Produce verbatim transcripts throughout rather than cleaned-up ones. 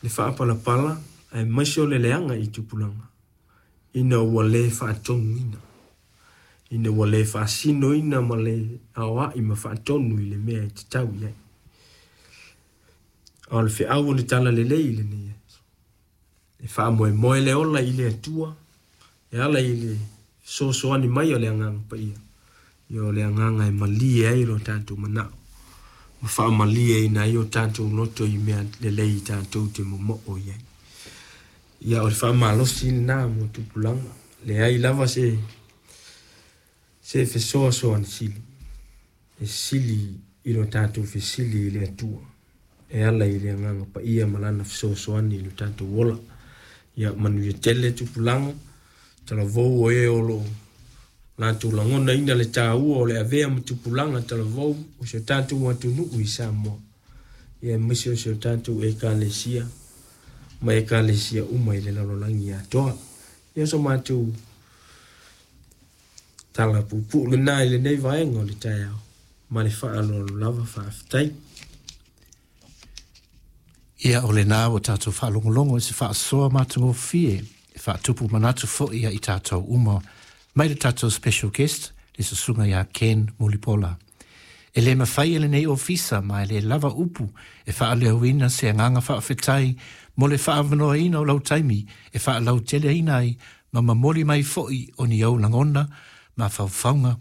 Le faapalapala aemaise o le leaga i tupulaga ina ua lē faatonuina ina ua lē faasinoina ma le aoaʻi ma faatonu i le mea e tatau i ai. A o le feau o le tala lelei i lenei aso e faamoemoe le ola i le Atua e ala i le fesoasoani mai o le Agaga Paia. Ia o le agaga e malie ai lo tatou manaʻo ma faamalieina ai o tatou loto i mea lelei tatou te momoo i ai. Ia o le faamalosi lenā mo tupulaga. Leai lava se se fesoasoani sili e sili i lo tatou fesili i le Atua e ala i le Agaga Paia ma lana fesoasoani i lo tatou ola. Ia manuia tele tupulaga talavou o e o loo latou lagonaina le tāua o le avea ma tupulaga talavou o si o tatou atunuu i Samoa, ia aemaise o si o tatou Ekalesia ma ekalesia uma i le lalolagi atoa. Ia o so matou tala puupuu lenā i lenei vaega o le taeao ma le faaaloalo lava. Faafetai. Ia o lenā ua tatou faalogologo i se faasoa matagofie e faatupu manatu foʻi ia i tatou uma mai le tatou special guest le susuga iā Ken Mulipola. E lē mafai e lenei ofisa ma e lē lava upu e faaleoina se agaga faafetai mo le faaavanoaina o lau taimi e faalauteleina ai ma momoli mai foʻi o ni ou lagona ma faufauga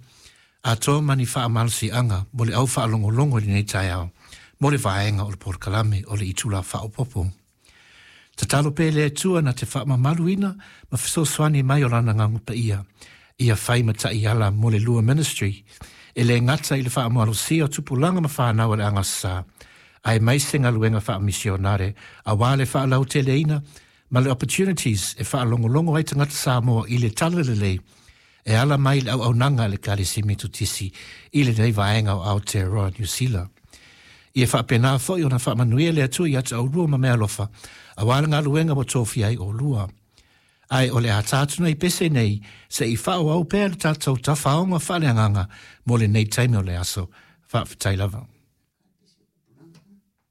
atoa ma ni faamalosiaga mo le au faalogologo i lenei taeao mo le vaega o le polokalame o le itula faaopopo. Tatalo pea le Atua na te faamamaluina ma fesoasoani mai o lana Agaga Paia ia fai ma taiala mo le lua ministry e lē gata i le faamalosia o tupulaga ma fanau a le agasā aemaise galuega faamisionare auā le faalauteleina ma le opportunities e faalogologo ai tagata Samoa i le tala lelei e ala mai le auaunaga a le Ekalesia Metotisi i lenei vaega o Aotearoa Niu Sila. Ia faapenā foʻi ona faamanuia le Atua ia te oulua ma meaalofa auā le galuega ua tofia ai oulua. Ae o le a ta atu nei pese nei seʻi faaauau pea le tatou tafaoga faaleagaga mo lenei taimi o le aso. Faafetai lava.